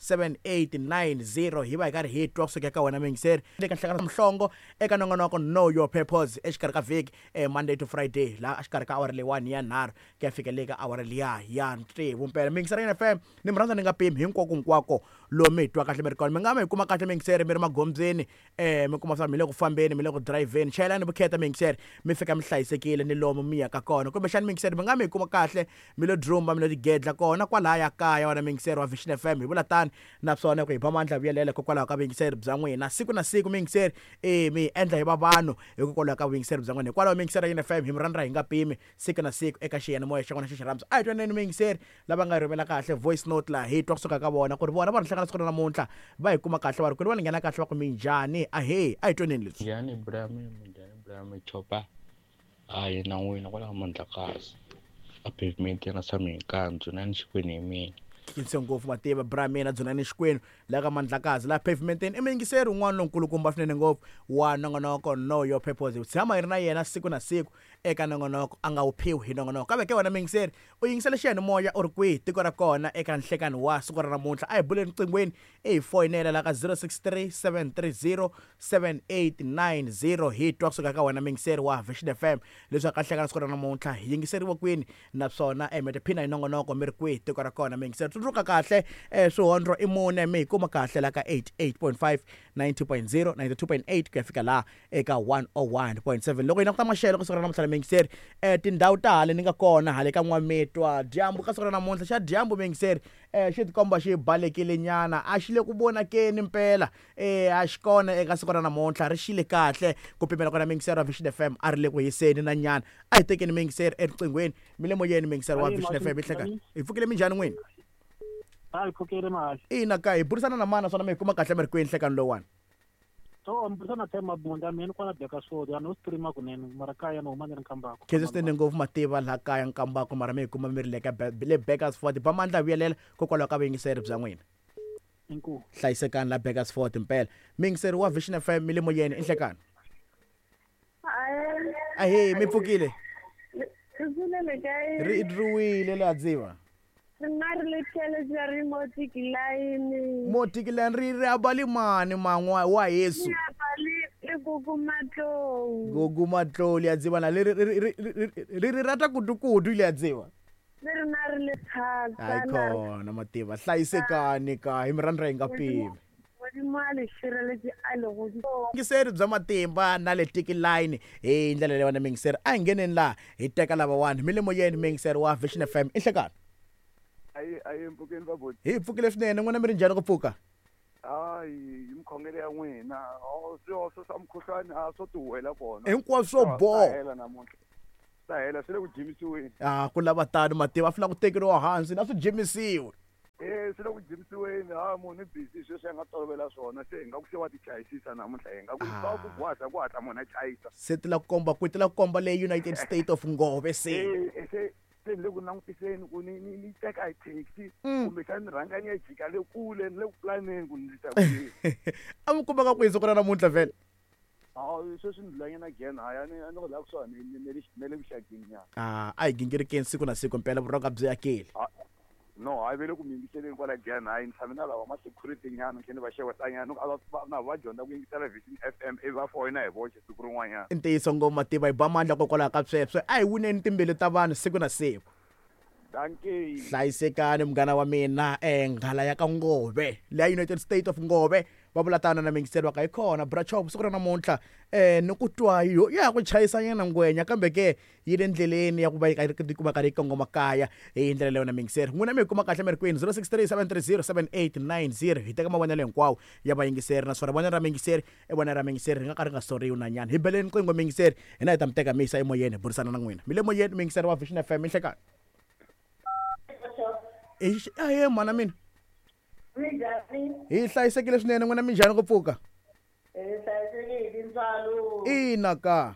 7890 hi va hi karhi hi twa kusuka eka wena muyingiseri le ka nhlangano mhlongo eka nongonoko Know Your Purpose exikarhi ka vhiki Monday to Friday laha exikarhi ka awara leyiwani ya nharhu ku ya fika le ka awara liya ya tsevu mpela. Muyingiseri ya FM ni mi rhandza ni nga pimi hinkwako hinkwako lomu mi hi twa kahle mi ri kona mi nga mi hi kuma kahle muyingiseri mi ri magondzweni mi kuma swa mi le ku fambeni mi le ku dirayivheni chayelani vukheta muyingiseri mi fika mi hlayisekile ni lomu mi yaka kona kumbexani muyingiseri mi nga mi hi kuma kahle mi lo drumba mi lo tigedla kona kwalaya kaya wena muyingiseri wa Vision FM hi vula tani naswona ku hi ba mandla vuyelela hikokwalaho ka vuyingiseri bya n'wina siku na siku muyingiseri e mi hi endla hi va vanhu hikokwalaho ka vuyingiseri bya n'wina hikwalaho muyingiseri ya FM hi mi rhandza hi nga pimi siku na siku eka xiyanimoya xa n'wina xa xirhambo a hi twaneni muyingiseri lava nga rhumela kahle voice note laha hi twa kusuka ka vona ku ri vona va ri hlangana siku ra namuntlha va hi kuma kahle va ri kwini va ni nghena kahle va ku minjhani ahee a hi twaneni leswi. Minjhani bra minjhani bra Chopa hayi na n'wina kwalaho Mandlakazi a pavement yi nga tshami hi nkandzu na ni xikwenu hi mina. Khinse ngopfu mativa bra mina dzunani xikwenu la ka Mandlakazi la pavementeni i muyingiseri un'wana lonkulukumba swinene ngopfu wa nongonoko Know Your Purpose hi tshama hi ri na yena siku na siku eka nongonoko a nga wu phiwi hi nongonoko kambe ke wena muyingiseri u yingisele xiyanimoya u ri kwihi tiko ra kona eka nhlekani wa siku ra namuntlha a hi buleni riqinghweni i hi foyinela la ka 063 730 7890 hi twa kusuka ka wena muyingiseri wa Vision FM leswaku ka nhlekani siku ra namuntlha hi yingiseriwa kwini naswona mi tiphina hi nongonoko mi ri kwihi tiko ra kona muyingiseri tsundzuka kahle swihondlo i mune mi hi kuma kahle la ka 88.5 90.0 92.8 ku ya fika laha eka 101.7 loko hi languta maxelo ka siku ra namuntlha muyingiseri tindhawu ta hale ni nga kona hale ka N'wamitwa dyambu ka siku ra namuntlha xa dyambu muyingiseri xi tikomba xi balekile nyana a xi le ku vonakeni mpela a xi kona eka siku ra namuntlha ri xile kahle ku pimela kona muyingiseri wa Vision FM a ri le ku hiseni na nyana a hi tekeni muyingiseri eriqinghweni mi le moyeni muyingiseri wa Vision FM hi hlekani hi pfukile minjhani n'wini a hi pfukile mahasha ina ka hi burisana na mana naswona mi hi kuma kahle mi ri kwini nhlekani lowuwani so mi burisana Themba Mabunda mina kwala Bakersfield ya no streama kunene mara kaya no huma ni ri Nkambako khensa swinene ngopfu mativa laha kaya Nkambako mara mi hi kuma mi ri le ka le Bakersford ba mandla vuyelela kokwalaho ka vuyingiseri bya n'wina inkomu hlayisekani la Bakersford mpela muyingiseri wa Vision FM mi le moyeni i nhlekani ahee mi pfukile ri druwile la dziva ri nga ri le tlhelo ra ri motikilayini motikilayini ri ri abali mani man'wa wa Yesu le gugu matlou gugu matlou le a tseba na le ri ri rata kudu-kudu le a tseba le ri na ri le thata hayi khona mativa hlayisekani ka hi mi rhandza hi nga pimi Modimo a le šireletše a le godimo. Yingiseri bya matimba na le tikilayini hi ndlela leyi wena muyingiseri a hi ngheneni laha hi teka lavawani mi le moyeni muyingiseri wa Vision FM i nhlekani Ayi ayi mpfukeni va boti. Hi pfukile swinene n'wina mi ri njhani ku pfuka? Hayi hi mikhongelo ya n'wina swihoxo swa mukhuhlwani a swo tihuwela kona. Hinkwaswo swo boha. Hela namuntlha. Swa hela swi le ku jimisiweni. Ah ku lava tano mativa a swi lava ku tekeriwa hansi na swi jimisiwe. E swi le ku jimisiweni ha munhu i busy sweswi a nga tolovela swona se hi nga ku se wa ti chayisisa namuntlha hi nga ku swa ku gwaza ku hatla munhu a chayisa. Se ti la ku komba kwihi ti la ku komba le United State of Ngove se. E se se ni le ku langutiseni ku ni ni ni teka hi taxi kumbexani ni rhanga ni ya jika le kule ni le ku pulaneni ku ni ta kwihi. A mi kumeka kwihi siku ra namuntlha vhele? Hayi sweswi ni dlulanyana gene hayi a ni a ni ku la kusuhani ne le ne le vuxakeni nyana. Ah a hi gingirikeni siku na siku mpela vurhonga byi akile. No hayi ve le ku mi yingiseleni kwala gene hayi ni tshame na lava ma security nyana ni tlhe ni va xeweta nyana a va na va dyondza ku yingisela Vision FM ivi va foyina hi voxe siku rin'wanyana. I ntiyiso ngopfu mativa hi ba mandla kokwalaho ka sweswo a hi wineni timbilu ta vanhu siku na siku. Dankie. Hlayisekani munghana wa mina nghala ya ka Ngove leya United State of Ngove va vula tano na miyingiseri wa ka hi kona bra chop siku ra namuntlha ni ku twa yo ya ha ku chayisanyana ngwenya kambe ke yi le ndleleni ya ku va yi karhi kuma karhi yi kongoma kaya hi ndlela leyo na miyingiseri n'wina mi yi kuma kahle mi ri kwini 063 730 7890 hi teka mavonelo hinkwawo ya vayingiseri naswona vonelo ra miyingiseri i vonelo ra miyingiseri ri nga ka ri nga soriwi na nyana hi beleni riqingho miyingiseri hina hi ta mi teka mi yisa emoyeni hi burisana na n'wina mi le moyeni miyingiseri wa Vision FM inhlekani ahe mhana mina Minjhani? Hi hlayisekile swinene n'wina minjhani ku pfuka? Hi hlayisekile hi tintswalo. Ina ka.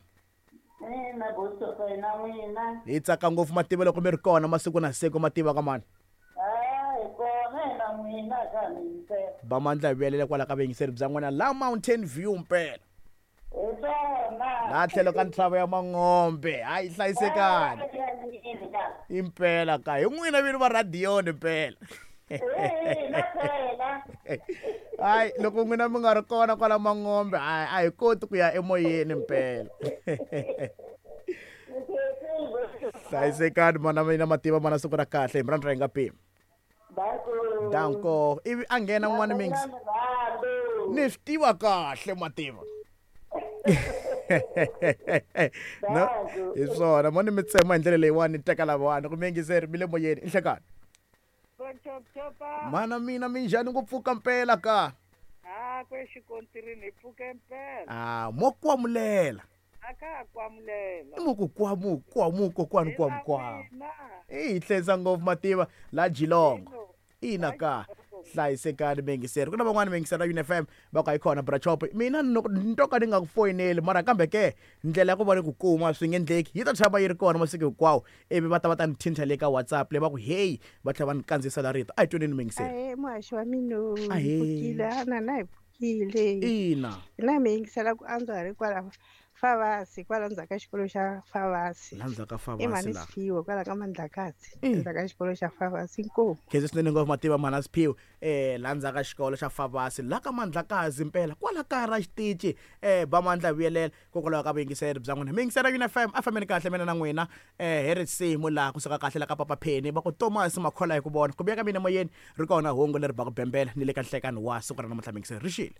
Ina Boshofa hi na n'wina. Hi tsaka ngopfu mativa loko mi ri kona masiku na siku mativa ka mani. Ah, hi kona hi na n'wina ka ha mi yingisela. Ba mandla hi vuyelela kwala ka vuyingiseri bya n'wina la Mountain View mpela. Hi swona. Laha tlhelo ka ntshava ya Mangombe. Hayi hlayisekani. Impela ka hi n'wina vini va radiyoni mpela. Ina phela. Hayi, loko n'wina mi nga ri kona kwala Mangombe, hayi, a hi koti ku ya emoyeni mpela. Hlayisekani mana mina, mativa mana, siku ra kahle hi mrandza hi nga pimi. Danko. Ivi a nghena n'wana mingisi. Ni swi tiva kahle mativa. No, hi swona mo ni mi tsema hi ndlela leyiwani, ni teka lavawani ku miyingiseri mi le moyeni i nhlekani. Mana mina, minjhani ku pfuka mpela ka? Ha kwe xikontirini hi pfuke mpela. A mo kwamulela. A ka ha kwamulela. I mo ku kwamu kwamu kokwani kwamu kwamu. I hi hlensa ngopfu mativa la Jilongo. Ina ka hlayisekani miyingiseri. Ku na van'wani miyingiseri ra UniFM va ku a yi kona brachop, mina ni to ka ni nga ku foyineli, mara kambe ke ndlela ya ku va ni ku kuma swi nge endleki, yi ta tshama yi ri kona masiku hinkwawo, ivi va ta va ta ni thinta le ka WhatsApp le va ku heyi, va tlhela va ni kandziyisela rito. A hi twaneni miyingiseri. Ahee muhaxi wa mina. Ahee. Pfukile ana na hi pfukile. Ina. Hina mi yingisela ku antswa hi ri kwala Favasi, kwala ndzhaku ka xikolo xa Favasi. La ndzhaku ka I Favasi mhani la. Siphiwe kwala ka Mandlakazi. Endzhaku ka xikolo xa Favasi, inkomu. Khensa swinene ngopfu mativa mhana Siphiwe, la ndzhaku ka xikolo xa Favasi la ka Mandlakazi mpela kwala kaya ra xitici, ba mandla vuyelela kokwalaho ka vuyingiseri bya n'wina. Miyingiseri ya UniFM a fambeni kahle mina na n'wina, hi risimu laha kusuka kahle la ka Papa Penny va ku Thomas Makhola hi ku vona ku vuya ka mina moyeni ri kona hungu leri ba ku bembela ni le ka nhlekani wa siku ra namuntlha miyingiseri ri xile.